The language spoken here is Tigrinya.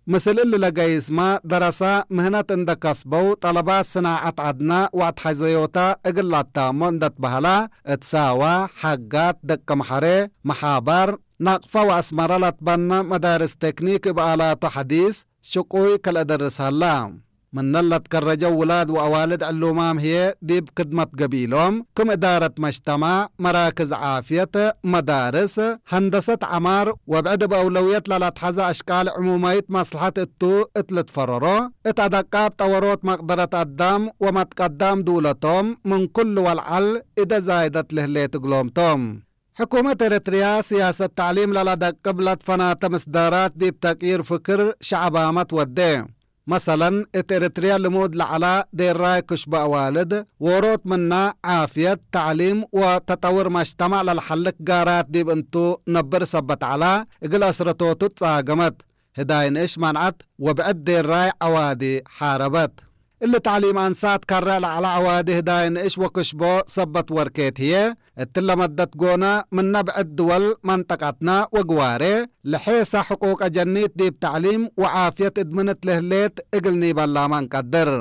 ምስል እሊ ለገይስማ ደረሳ ምህነት እንደ ከስበው ጠለባት ስናዓት ዓድና ወአትሐዘዮታ እግል ላታሞ እንደት በህላ፣ እት ሳዋ፣ ሐጋት፣ ደቀምሐሬ፣ መሓባር፣ ናቅፋ ወአስመራ ለትበነ መዳርስ ቴክኒክ እብ አላቶ ሐዲስ ሽቁይ ከልአደርስ ሀላ። ምነ ለትከረጀው ውላድ ወአዋልድ ዕሉማም ህዬ ዲብ ክድመት ገቢሎም፣ ክም እዳረት መጅተማዕ፣ መራክዝ ዓፍየት፣ መዳርስ፣ ሀንደሰት ዐማር ወብዕድ እብ አውለውየት ለለትሐዘ አሽቃል ዕሙማይት መስለሐት እቱ እት ልትፈረሮ፣ እት አደቃብ ጠወሮት መቅደረት አዳም ወመትቀዳም ድውለቶም ምን ኩሉ ወልዐል እደ ዛይደት ልህሌት እግሎም ቶም። ሕኩመት ኤረትርያ ስያሰት ተዕሊም ለለደቅብ ለትፈናተ ምስዳራት ዲብ ተቅይር ፍክር ሸዕባመት ወዴ። መሰለን፣ እት ኤረትርያ ልሙድ ለዐላ ዴራይ ክሽቦ አዋልድ፣ ዎሮት ምና ዓፍየት፣ ተዕሊም ወተጠውር መጅተማዕ ለልሐልክ ጋራት ዲብ እንቱ ነብር ሰበት ዐላ፣ እግል አስረቶቱ ትጻገመት። ህዳይ ንእሽ መንዐት ወብዕድ ዴራይ ዐዋዲ ሓረበት። እሊ ተዕሊም አንሳት ከረ ለዐለ ዐዋዲ ህዳይ ንእሽ ወክሽቦ ሰበት ወርኬት ህዬ፣ እትለ መደት ጎነ ምነ ብዕድ ድወል መንጠቀትና ወግዋሬ፣ ለሔሰ ሕቁቅ አጀኒት ዲብ ተዕሊም ወዓፍየት እድምንት ለህሌት እግል ኒበላመ እንቀድር።